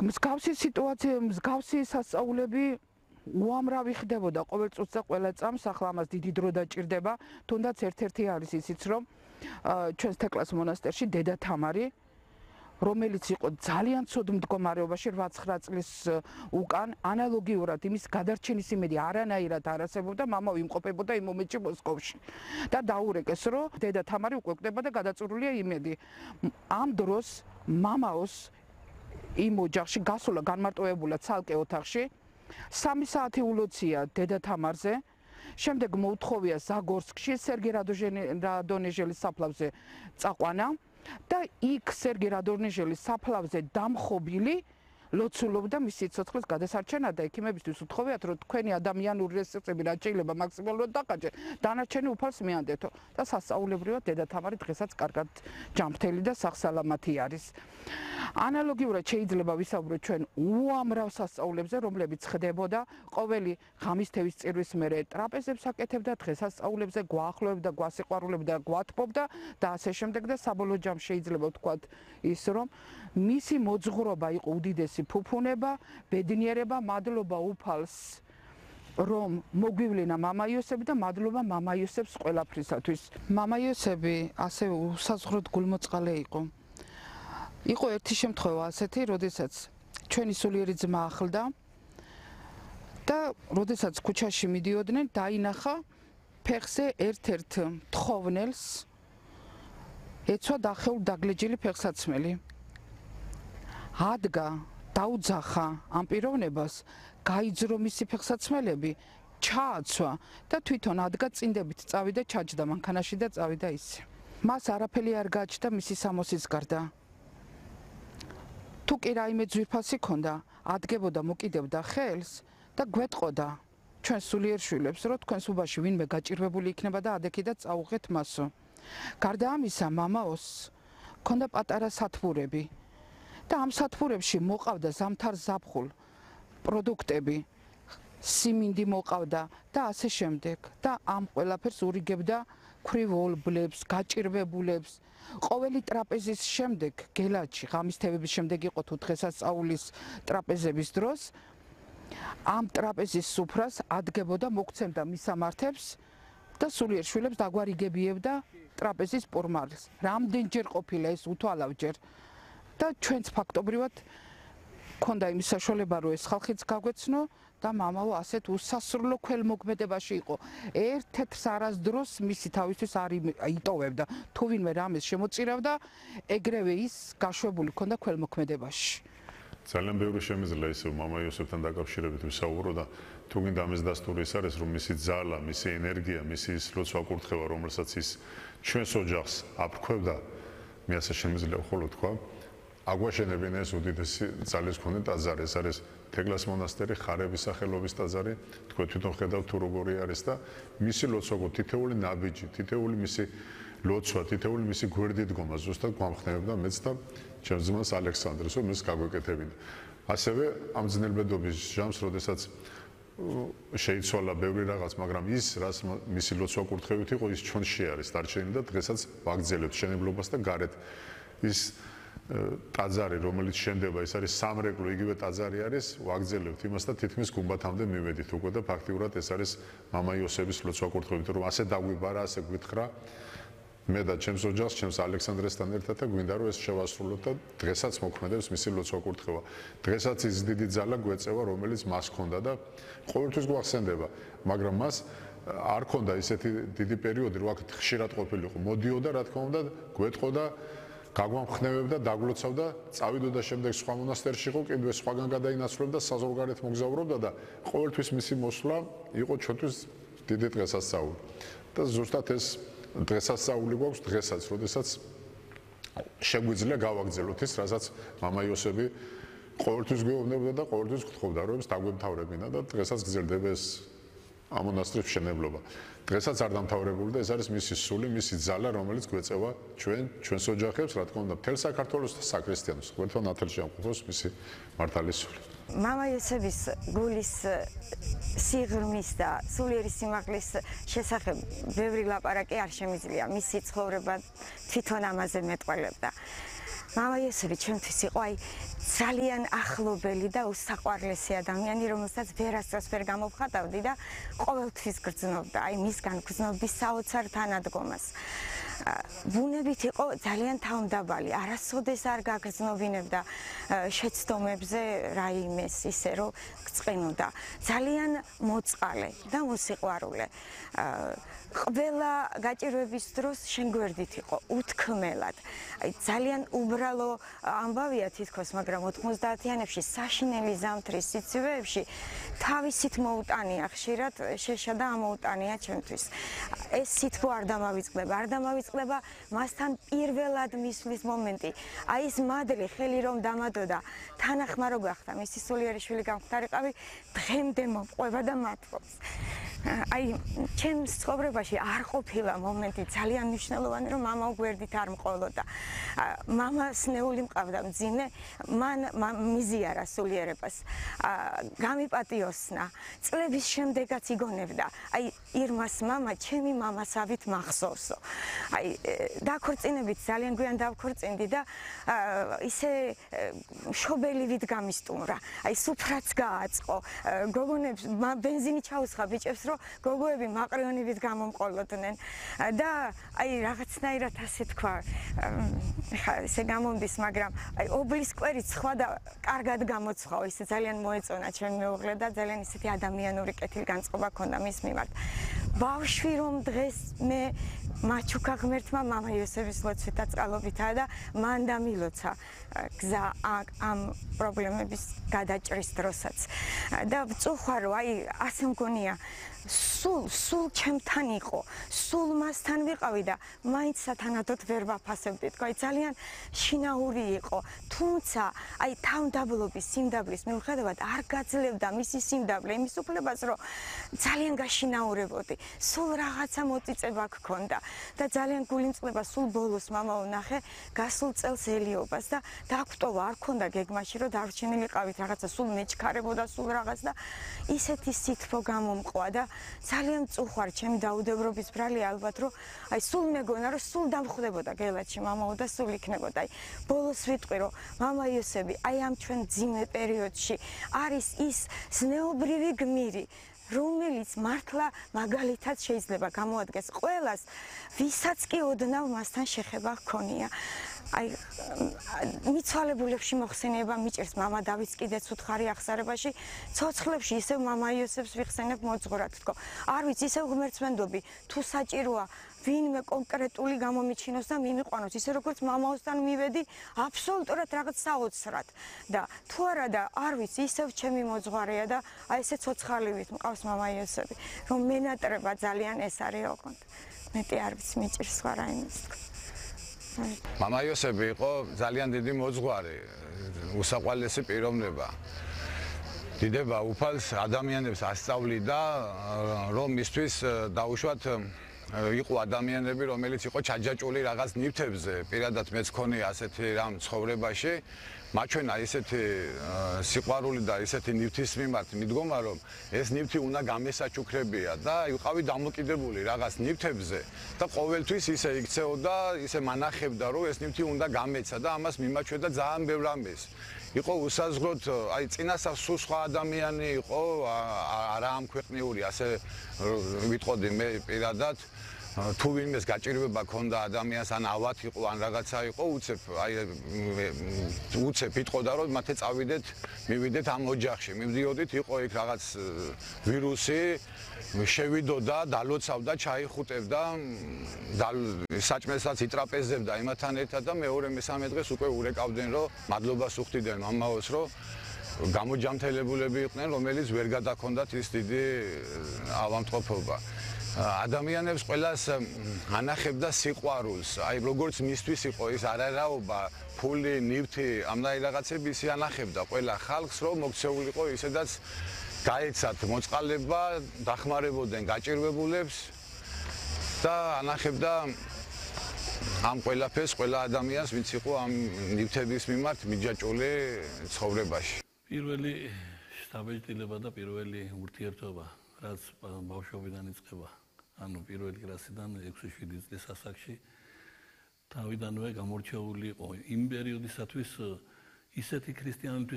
მსგავსი სიტუაცია, მსგავსი სასწაულები უამრავი ხდებოდა ყოველ წუთს და ყველა წამს, ახლა ამას დიდი დრო დაჭირდება, თუნდაც ერთ-ერთი არის ისიც, რომ ჩვენს თეკლას მონასტერში დედა თამარი, რომელიც იყო ძალიან ცუდ მდგომარეობაში 8-9 წლის უკან, ანალოგიურად იმის გადარჩენის იმედი არანაირად არ არსებობდა, მამა იმყოფებოდა იმ მომენტში მოსკოვში. და დაურეკეს, რომ დედა თამარი უკვე გვხვდება და გადაწურულია იმედი. ამ დროს მამაოს იმ ოჯახში გასულა განმარტოებულა ცალკე ოთახში. 3 საათი ულოცია დედა თამარზე. შემდეგ მოუთხოვია ზაგორსკში სერგეი რადონეჟელის საფლავზე წაყვანა და იქ სერგეი რადონეჟელის საფლავზე დამხობილი ლოცულობდა მის სიცოცხლის გადასარჩენად და ექიმებისთვის უთხოვიათ, რომ თქვენი ადამიანური რესურსები რაც შეიძლება მაქსიმალურად დაკარგეთ, დანარჩენი უფალს მიანდეთო და სასწაულებრივად დედა თამარი დღესაც კარგად ჯანმრთელი და სახსალამათი არის. ანალოგიურად შეიძლება ვისაუბროთ ჩვენ უამრავ სასწაულებზე, რომლებიც ხდებოდა ყოველი ღამისთევის წირვის მერე ტრაპეზებს აკეთებდა, დღესასწაულებზე გვაახლოვებდა, გვასიყვარულებდა, გვათბობდა და ასე შემდეგ და საბოლოო ჯამში შეიძლება ვთქვათ ის, რომ მისი მოძღვრობა იყო უდიდესი ფუფუნება, ბედნიერება, მადლობა უფალს, რომ მოგვივლინა მამა იოსები და მადლობა მამა იოსებს ყველაფრისათვის. მამა იოსები ასე უსაზღვროდ გულმოწყალე იყო. იყო ერთი შემთხვევა ასეთი, როდესაც ჩვენი სულიერი ძმა ახლდა და როდესაც ქუჩაში მიდიოდნენ, დაინახა ფეხზე ერთ-ერთ თხოვნელს ეცვა დახეულ დაგლეჯილი ფეხსაცმელი. ადგა, დაუძახა ამ პიროვნებას, გაიძრო მისი ფეხსაცმელები, ჩააცვა და თვითონ ადგა წინდებით წავიდა, ჩაჯდა მანქანაში და წავიდა ისე. მას არაფერი არ გააჩნდა მისი სამოსის გარდა. თუ კი რაიმე ძვირფასი ქონდა, ადგებოდა, მოკიდებდა ხელს და გვეტყოდა ჩვენ სულიერ შვილებს, რომ თქვენს უბანში ვინმე გაჭირვებული იქნება და ადექიდათ წაუღეთ მასო. გარდა ამისა, მამაოს ქონდა პატარა სათბურები და ამ სათბურებში მოყავდა ზამთარ ზაფხულ პროდუქტები, სიმინდი მოყავდა და ასე შემდეგ და ამ ყველაფერს ურიგებდა ქვრივოლბლებს, გაჭირვებულებს. ყოველი ტრაპეზის შემდეგ, გელათში, ღამისთევების შემდეგ იყო თუ დღესასწაულის ტრაპეზების დროს, ამ ტრაპეზის სუფრას ადგებოდა, მოგცემდა მისამართებს და სულიერ შვილებს დაგვარიგებიებდა ტრაპეზის პურმალს. რამდენჯერ ყოფილა ეს უთვალავჯერ და ჩვენც ფაქტობრივად ქონდა იმის საშუალება, რომ ეს ხალხიც გაგვეცნო და მამაო ასეთ უსასრულო ქველმოქმედებაში იყო. ერთ-ერთს არასდროს მისი თავისთვის არ იტოვებდა. თუ ვინმე რამეს შემოწირავდა, ეგრევე ის გაშვებული ქონდა ქველმოქმედებაში. ძალიან ბევრი შემიძლია ისე მამა იოსებთან დაკავშირებით ვისაუბრო და თუ გინდა ამის დასტური ის არის, რომ მისი ძალა, მისი ენერგია, მისი ის ლოცვა კურთხევა, რომელსაც ის ჩვენს ოჯახს აფრქვევდა, მე ასე შემიძლია ხოლო თქვა, აგვაშენებინა ეს უდიდესი ძალის მქონე ტაძარი. ეს არის თეკლას მონასტერი, ხარების სახელობის ტაძარი. თქვენ თვითონ ხედავთ თუ როგორი არის და მისი ლოცვა, თითეული ნაბიჯი, თითეული მისი ლოცვა, თითეული მისი გვერდით დგომა ზუსტად გვამხნევებდა მეც და ჩემს ძმას ალექსანდრეს, რომ ის გაგვეკეთებინა. ასევე ამ ძნელბედობის ჟამს, როდესაც შეიცვალა ბევრი რაღაც, მაგრამ ის, რაც მისი ლოცვა კურთხევით იყო, ის ჩვენში არის დარჩენილი და დღესაც ვაგრძელებთ შენებლობას და გარეთ ის ტაძარი, რომელიც შენდება, ეს არის სამრეკლო, იგივე ტაძარი არის, ვაგრძელებთ იმას და თითქმის გუმბათამდე მივედით უკვე და ფაქტიურად ეს არის მამა იოსების ლოცვა კურთხევით, რომ ასე დაგვიბარა, ასე გვითხრა მე და ჩემს ოჯახს, ჩემს ალექსანდრესთან ერთად და გვინდა რომ ეს შევასრულოთ და დღესაც მოქმედებს მისი ლოცვა კურთხევა. დღესაც ის დიდი ძალა გვეწევა, რომელიც მას ჰქონდა და ყოველთვის გვახსენდება, მაგრამ მას არ ჰქონდა ისეთი დიდი პერიოდი, რომ აქ ხშირად ყოფილიყო. მოდიოდა, რა თქმა უნდა, გვეტყოდა, გაგვამხნევებდა, დაგლოცავდა, წავიდოდა შემდეგ სხვა მონასტერში იყო, კიდევ სხვაგან გადაინაცვლებდა, საზღვარგარეთ მოგზაურობდა და ყოველთვის მისი მოსვლა იყო ჩვენთვის დიდი დღესასწაული. და ზუსტად ეს დღესასწაული გვაქვს დღესაც, როდესაც შეგვიძლია გავაგრძელოთ ის, რასაც მამა იოსები ყოველთვის გვეუბნებოდა და ყოველთვის გთხოვდა, რომ ეს დაგვემთავრებინა და დღესაც გრძელდება ეს ამ მონასტრის მშენებლობა. დღესაც არ დამთავრებული და ეს არის მისი სული, მისი ძალა, რომელიც გვეწევა ჩვენს ოჯახებს, რა თქმა უნდა, მთელ საქართველოს და საქრისტიანოს. ყველგან ნათელში ამყოფობს მისი მართალი სული. მამა იოსების გულის სიღრმის და სულიერი სიმაღლის შესახებ ბევრი ლაპარაკი არ შემიძლია. მისი ცხოვრება თვითონ ამაზე მეტყველებდა. მამა იოსები ჩვენთვის იყო აი ძალიან ახლობელი და უსაყვარლესი ადამიანი, რომელსაც ვერასდროს ვერ გამოვხატავდი და ყოველთვის გრძნობდა აი მისგან გრძნობის საოცარ თანადგომას. ბუნებით იყო ძალიან თავმდაბალი, არასოდეს არ გაგრძნობინებდა შეცდომებზე რაიმეს ისე რომ გწყინოდა. ძალიან მოწყალე და მოსიყვარულე. ყველა გაჭირვების დროს შენ გვერდით იყო უთქმელად. აი ძალიან უბრალო ამბავია თითქოს, მაგრამ 90-იანებში საშინელი ზამთრის სიცივეებში თავისით მოუტანია ხშირად შეშა და ამოუტანია ჩვენთვის. ეს სითბო არ დამავიწყდება მასთან პირველად მისვლის მომენტი. აი ეს მადლი ხელი რომ დამადოდა, თანახმარო გახდა, მისი სულიერი შვილი გამختارიყავი, დღემდე მომყვება და მათლობს. აი ჩემს ცხოვრებაში არ ყოფილა მომენტი ძალიან მნიშვნელოვანი, რომ მამა გვერდით არ მყოლოდა. მამას ნეული მყავდა მძიმე, მან მიზიარა სულიერებას. გამიპატიოსნა. წლების შემდეგაც იგონებდა. აი ირმას მამა, ჩემი მამასავით მახსოვსო. აი დაქორწინებით ძალიან გვიან დავქორწინდი და ისე შობელივით გამისტუმრა. აი სუფრაც გააწყო. გოგონებს ბენზინი ჩაუსხა ბიჭებს, რომ გოგოები მაყრიონივით გამომყოლოდნენ და აი რაღაცნაირად ასე თქვა, ხა ესე გამომდის, მაგრამ აი ობლის კვერიც სხვა და კარგად გამოცხაო, ისე ძალიან მოეწონა ჩემი მეუღლე და ძალიან ისეთი ადამიანური კეთილგანწყობა ჰქონდა მის მიმართ. ბავშვი რომ დღეს მე მაჩუკა ღმერთმა მამა იოსების ლოცვით და წყალობითა და მან დამილოცა გზა ამ პრობლემების გადაჭრის დროსაც და ვწუხარო აი ასე მგონია სულ ჩემთან იყო, სულ მასთან ვიყავი და მაინც სათანადოდ ვერ ვაფასებდი. თქვა ძალიან შინაური იყო, თუმცა აი თავმდაბლობის სიმდაბლის მიუხედავად არ გაძლევდა მისი სიმდაბლე იმის უფლებას, რომ ძალიან გაშინაურებოდი. სულ რაღაცა მოწიწება გქონდა და ძალიან გულიმწყლება სულ ბოლოს მამა ვნახე გასულ წელს ელიობას და დაგვტოვა, არ ქონდა გეგმაში, რომ დარჩენილიყავით რაღაცა სულ მეჩქარებოდა სულ რაღაც და ისეთი სითბო გამომყვა და ძალიან წუხარ ჩემი დაუდევრობის ბრალია ალბათ რომ აი სულ მეგონა რომ სულ დამხვდებოდა გელათში მამაო და სულ იქნებოდა აი ბოლოს ვიტყვი რომ მამა იოსები აი ამ ჩვენ ძიმე პერიოდში არის ის ზნეობრივი გმირი რომელიც მართლა მაგალითად შეიძლება გამოადგეს ყველას ვისაც კი ოდნავ მასთან შეხება ჰქონია აი მიცვალებულებში მოხსენება მიჭერს მამა დავითს კიდეც უთხარი ახსარებაში ცოცხლებში ისევ მამა იოსებს ვიხსენებ მოძღვრად თქო არ ვიცი ისევ ღმერთსმენდობი თუ საჭიროა ვინმე კონკრეტული გამომიჩინოს და მიმიყვანოს ისე როგორც მამაოსთან მივედი აბსოლუტურად რაღაც საოცრად და თუ არა და არ ვიცი ისევ ჩემი მოძღვარია და აი ესე ცოცხალივით მყავს მამა იოსები რომ მენატრება ძალიან ეს არის ოღონდ მეტი არ ვიცი მიჭირს სხვა რაიმეს თქო მამა იოსები იყო ძალიან დიდი მოძღვარი, უსაყვარლესი პიროვნება. დიდება უფალს ადამიანებს ასწავლიდა, რომ მისთვის დაუშვათ იყო ადამიანები, რომელიც იყო ჩაჯაჭული რაღაც ნივთებზე. პირადად მეც მქონია ასეთი რამ ცხოვრებაში. მაჩვენა ისეთი სიყვარული და ისეთი ნივთის მიმართ მიდგომა, რომ ეს ნივთი უნდა გამესაჩუქრებია და იყავი დამოკიდებული რაღაც ნივთებზე და ყოველთვის ისე იქცეოდა, ისე მანახებდა, რომ ეს ნივთი უნდა გამეცა და ამას მიმაჩვენდა ძალიან ბევრ ამბეს. იყო უსაზღროდ, აი წინასწარ სულ სხვა ადამიანი იყო, არა ამ ქვეყნიური, ასე ვიტყოდი მე პირადად თუ ვინმეს გაჭირვება ქონდა ადამიანს ან ავად იყო ან რაღაცა იყო უცებ იტყოდა რომ მათე წავიდეთ მივიდეთ ამ ოჯახში მივდიოდით იყო იქ რაღაც ვირუსი შევიდოდა დალოცავდა ჩაიხუტებდა საჭმელსაც იტრაპეზებდა იმათთან ერთად და მეორე მესამე დღეს უკვე ურეკავდნენ რომ მადლობას უხდიდნენ მამაოს რომ გამოჯამთელებულები იყვნენ რომელიც ვერ გადაქონდათ ის დიდი ავადმყოფობა ადამიანებს ყველას ანახებდა სიყვარულს. აი როგორც მისთვის იყო ის არარაობა, ფული, ნივთი, ამდენი რაღაცები ისი ანახებდა ყველა ხალხს, რომ მოქცეულიყო ისედაც გაეცათ მოწყალება, დახმარებოდნენ გაჭირვებულებს და ანახებდა ამ ყველაფერს ყველა ადამიანს, ვინც იყო ამ ნივთების მიმართ მიჯაჭული ცხოვრებაში. პირველი შთაბეჭდილება და პირველი ურთიერთობა რაც ბავშვობიდან იწყება ანუ პირველი კლასიდან 6-7 წლის ასაკში თავიდანვე გამორჩეული იყო იმ პერიოდისათვის ისეთი ქრისტიანობის